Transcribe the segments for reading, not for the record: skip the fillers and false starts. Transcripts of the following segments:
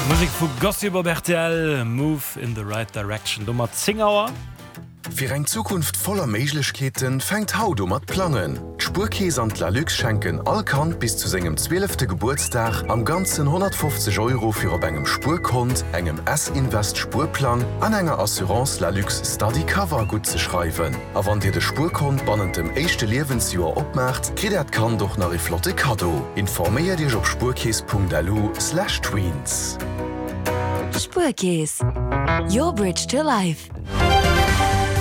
Musek vu Gossip op rtl, Move in the right direction. Domat 10 Auer. Fir eng Zukunft voller Méiglechkeeten fänkt haut u mat plangen. D'Spuerkeess an d'Lalux schenken all Kand bis zu sengem zwielefte Gebuertsdag am Ganzen 150 Euro fir op engem Spuerkont, engem S-Invest Spuerplang an enger Assurance Lalux Study Cover guttzeschreiwen. A wann dir de Spuerkont bannent dem éischte Liewensjoer opmaacht, kritt äert Kand och nach ee flotte Kaddo. Informéiert iech op spuerkeess.lu/tweens. Spuerkeess, your bridge to life.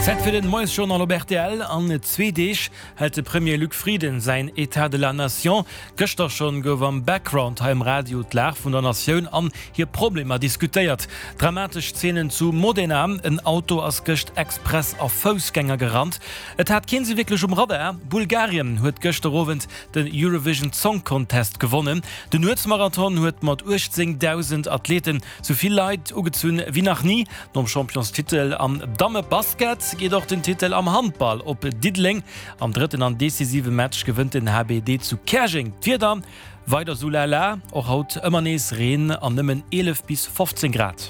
Zäit fir den Moiesjournal op rtl. An zwee Deeg hält de Premier Luc Frieden säin Etat de la Nation. Gëschter schonn gouf am Background hei um Radio d'Lag vun der Natioun an hir Problemer diskutéiert. Dramatesch Zeenen zu Modena, En Auto ass gëscht express a Foussgänger gerannt. Et hat keen se wierklech um Radar. Bulgarien huet gëschter Owend den Eurovision Song Contest gewonnen. Den Nuetsmarathon huet mat 18.000 Athleten Sou vill Leit ugezunn wéi nach ni. Nom Championstitel am Dammebasket geet och den Titel am Handball op Diddeleng. Am drëtten an decisive Match gewënnt den HBD zu Käerjeng. D'Wieder weider sou lala, och haut ëmmer nees Reen an nëmmen 11 bis 15 Grad.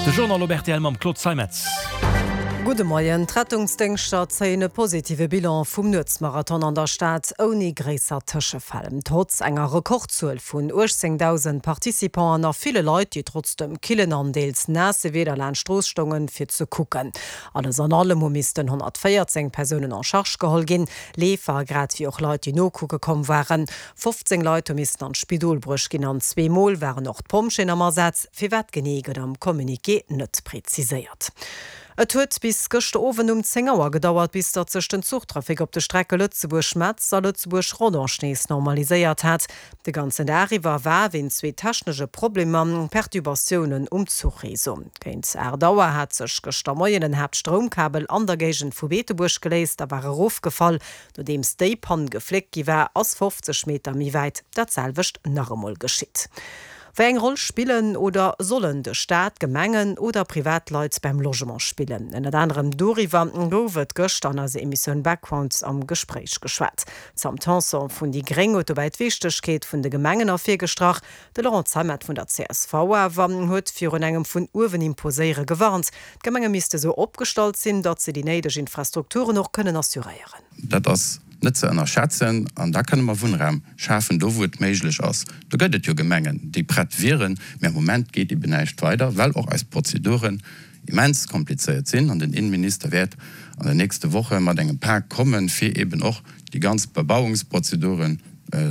De Journal op rtl mam Claude Zeimetz. Gudde Moien. D'Rettungsdéngschter zéien e positive Bilan vum Nuetsmarathon an der Stad, ouni gréisser Tëschefäll. Trotz enger Rekordzuel vun 18.000 Participanten a ville Leit, déi trotz dem killen an deels naasse Wieder laanscht d'Strooss stoungen, fir ze kucken. Alles an allem hu missten 114 Persounen en charge geholl ginn, Leefer grad wéi och Leit, déi nokucke komm waren. 15 Leit hu missten an d'Spidol bruecht ginn an zweemol waren och d'Pompjeeën am Asaz. Firwat genee gëtt am Communiqué net preziséiert. Et huet bis gëschter Owend um 10 Auer gedauert, bis datt sech den Zuchtrafic op de Strecke Lëtzebuerg-Metz a Lëtzebuerg-Rodange nees normaliséiert hat. De ganzen Dag iwwer war wéint zwee technesche Problemer Perturbatiounen um Zuchreseau. Géint 8 Auer hat sech gëschter Moien en Haaptstroumkabel an der Géigend vu Beetebuerg geléist a war erofgefall. Nodeems déi Pann gefléckt gi war, ass 50 Meter méi wäit dat selwecht nach emol geschitt. Wéi eng Roll spillen oder sollen de Staat, Gemengen oder Privatleit beim Logement spillen? Ënnert anerem doriwwer gouf et gëschter an eiser Emissioun Background am Gespréich geschwat. D'Sam Tanson vun déi Gréng huet dobäi d'Wichtegkeet vun de Gemengen ervirgestrach. De Laurent Zeimet vun der csv awer huet virun engem vun uewen imposéiere gewarnt. D'Gemenge misste sou opgestallt sinn, datt se déi néideg Infrastrukturen och kënnen assuréieren. Dat ass net ze ënnerschätzen. An da kënne mer Wunnraum schafen, do wou et méiglech ass. Do gëtt et jo Gemengen, déi prett wieren, mä am Moment geet eben näischt weider, well och eis Prozeduren immens komplizéiert sinn. An den Innenminister wäert an den nächste Woche mat engem Pak kommen, fir eben och déi ganz Bebauungsprozeduren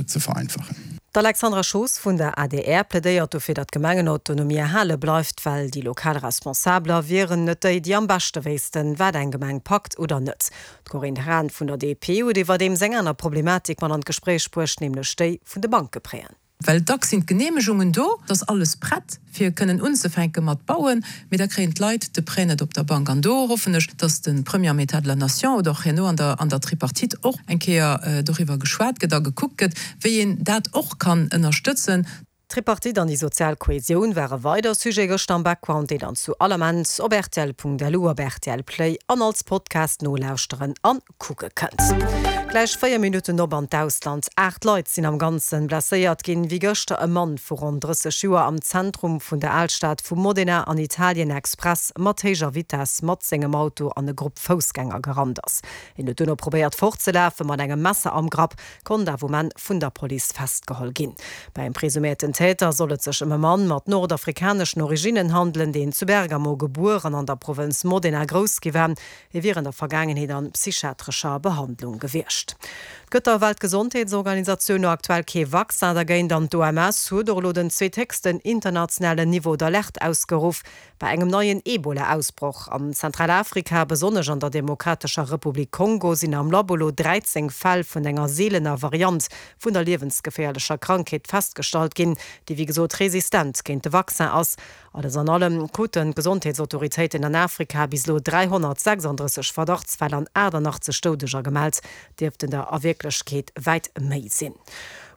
ze vereinfachen. D'Alexandra Schoos vun der adr plädéiert dofir, datt d'Gemengenautonomie erhale bleift, well déi lokal Responsabeler wieren net déi, déi am beschte wéissten, wat eng Gemeng packt oder net. D'Corinne Hahn vun der DP huet iwwerdeems eng aner Problematik mat an d'Gespréich bruecht, nämlech déi vun de Bankepréen. Well dacks sinn d'Geneemegungen do, et ass alles prett, fir kënnen unzefänke mat bauen, mee da kréien d'Leit de Prêt net op der Bank. An do hoffen ech, dass de Premier am État de la Nation oder och herno an der an der Tripartite och eng Kéier doriwwer geschwat gëtt a gekuckt gëtt, wéi een dat och kann ënnerstëtzen. D'Tripartite an déi sozial Kohesioun ware weider Sujet gëschter am Background, deen dann zu all Ament op rtl.lu, op rtl Play an als Podcast nolauschteren an kucke kënnt. Gläich 4 Minutten op an d'Ausland. 8 Leit sinn am Ganzen blesséiert ginn, wéi gëschter e Mann vu ronn 30 Joer am Zentrum vun der Alstad vu Modena an Italien express mat héijer Vitess mat sengem Auto an e Grupp Foussgänger gerannt ass. Hien huet duerno probéiert fortzelafen, mat engem Messer am Grapp, konnt awer um Enn vun der Police festgeholl ginn. Beim presuméierten Täter soll et sech ëm e Mann mat nordafrikaneschen Originnen handelen, deen zu Bergamo gebuer an an der Provënz Modena grouss gi war. Hie wier an der Vergaangenheet an psychiatrescher Behandlung gewiescht. Et gëtt der Weltgesondheetsorganisatioun no aktuell kee Vaccin dergéint an d'OMS huet och elo den zweethéchsten internationalen Niveau d'alerte ausgeruff bei engem neien Ebola-Ausbroch an Zentralafrika. Besonnesch an der Demokratescher Republik Kongo sinn am Labo elo 13 Fäll vun enger seelener Variant vun der liewensgeféierlecher Krankheet festgestallt ginn, déi wéi gesot resistent géint de Vaccin ass. Alles an allem kruten d'Gesondheetsautoritéiten an Afrika bis elo 336 Verdachtsfäll an 88 Doudeger gemellt, dierften der a Wierklechkeet wäit méi sinn.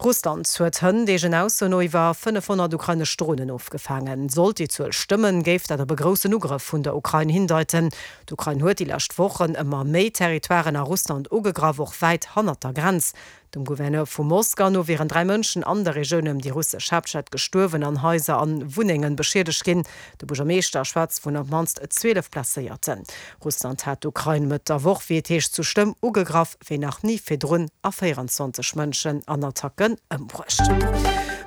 Russland huet hënt eegen Ausso no iwwer 500 ukrainesch Dronen ofgefaangen. Sollt déi Zuel stëmmen, géif dat op e groussen Ugrëff vun der Ukrain hindeiten. D'Ukrain huet déi lescht Wochen ëmmer méi Territoiren a Russland ugegraff, och wäit hannert der Grenz. Dem Gouverneur vu Moskau no wieren 3 Mënschen an der Regioun ëm déi russesch Haaptstad gestuerwen an Haiser an Wunnengen beschiedegt ginn. De Buergermeeschter schwätzt vun op d'mannst 12 Blesséierten. Russland hat d'Ukrain Mëtt der Woch, wéi et heescht, sou schlëmm ugegraff wéi nach ni virdrun a 24 Mënschen an Attacken ëmbruecht.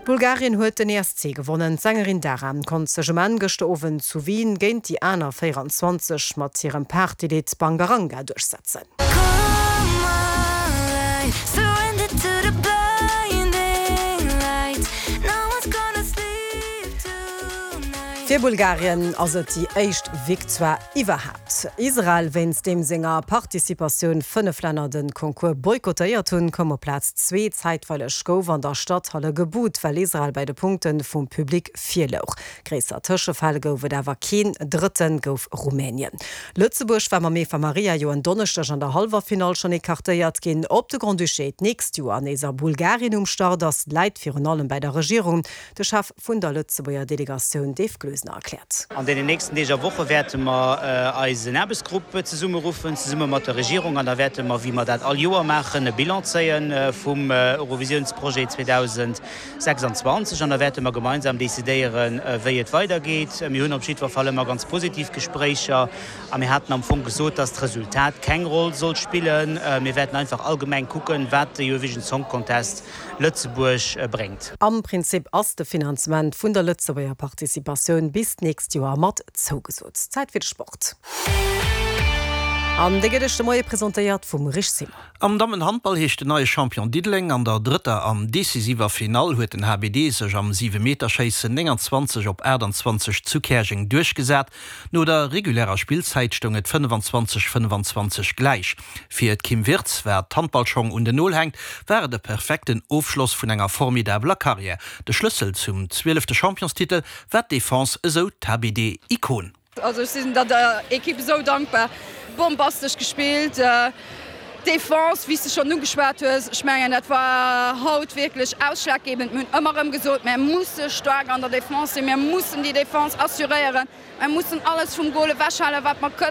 Bulgarien huet den ESC gewonnen. D'Sängerin Dara konnt sech um Enn gëschter Owend zu Wien géint déi aner 24 mat hirem Partylidd Bangaranga duerchsetzen. Fir Bulgarien ass et déi éischt Victoire iwwerhaapt. Israel, wéinst deem senger Participatioun 5 Länner de Concours boykottéiert hunn, koum op Plaz zwee. Zäitweileg gouf an der Stadhalle gebuht, well Israel bei de Punkte vum Public vir louch. Gréisser Tëschefäll gouf et awer keen. Drëtte gouf Rumänien. Lëtzebuerg war mam Eva Maria jo en Donneschdeg an der Hallwerfinall schonn ecartéiert ginn. Ob de Grand-Duché d'nächst Joer nees a Bulgarien um Start ass, läit virun allem bäi der Regierung. De Chef vun der Lëtzebuerger Delegatioun Dave Gloesener erkläert. An deenen nächsten Deeg a Woche wäerte mer eisen Aarbechtsgrupp zesummeruffen, zesumme mat der Regierung, an da wäerte mer, wéi mer dat all Joer maachen, e Bilan zéie vum Eurovisiounsprojet 2026 an da wäerte mer gemeinsam decidéieren, wéi et weidergeet. Mir hunn op jiddwer Fall ëmmer ganz positiv Gespréicher a mir haten am Fong gesot, dass d'Resultat keng Roll soll spillen. Mir wäerten einfach allgemeng kucken, wat de Eurovision Song Contest Lëtzebuerg bréngt. Am Prinzip ass de Finanzement vun der Lëtzebuerger Participatioun bis d'nächst Joer mat zougesot. Zäit fir de Sport. An dee gëtt Iech de Moie presentéiert vum Rich Simon. Am Dammenhandball heescht den neie Champion Diddeleng. An der drëtter an decisiver Finall huet den HBD sech am Siwemeterschéissen 29 op 28 zu Käerjeng duerchgesat. No der regulärer Spillzäit stoung et 25, 25 gläich. Fir d'Kim Wirtz, wat d'Handballschong un den Nol hänkt, war et e perfekten Ofschloss vun enger formidabeler Karriär. De Schlëssel zum zwielefte Championstitel war d'Defense, esou d'HBD-Ikon. Also ech sinn der Ekipp esou dankbar. Bombastesch gespillt. D'Defense, wéi s de schonn ugeschwat hues, ech mengen dat war haut wierklech ausschlaggebend. Mir hunn ëmmer erëm gesot, mär musse staark an der Defense sinn, mir mussen déi Defense assuréieren, mär mussen alles vum Gol ewechhalen, wat mer kënnen.